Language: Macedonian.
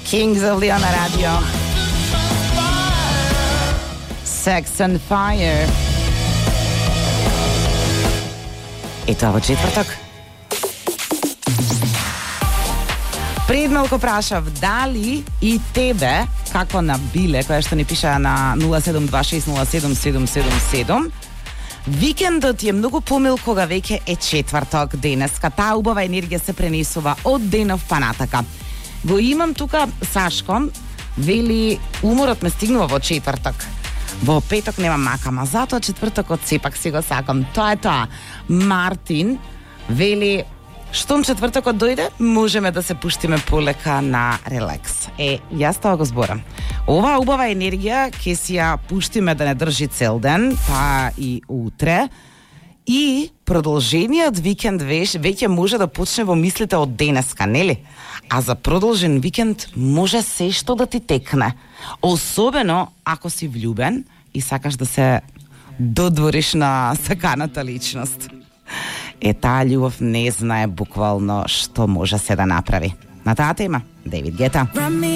Kings of Leon на радио. Sex and Fire. И тоа во четврток. Пред малку прашав дали и тебе, како на Биле, која што ни пиша на 072607777, викендот е многу помил кога веќе е четврток денеска. Таа убава енергија се пренесува од денов па натака. Го имам тука Сашко, вели уморот ме стигнува во четврток. Во петок немам макама, затоа четвртокот сепак си го сакам. Тоа е тоа. Мартин вели штом четвртокот дојде, можеме да се пуштиме полека на релакс. Јас тоа го зборам. Оваа убава енергија ќе си ја пуштиме да не држи цел ден, па и утре. И продолжениот викенд веќе може да почне во мислите од денеска, нели? А за продолжен викенд може се што да ти текне. Особено ако си влюбен и сакаш да се додвориш на саканата личност. Таа љубов не знае буквално што може се да направи. На таа тема, Дейвид Гета.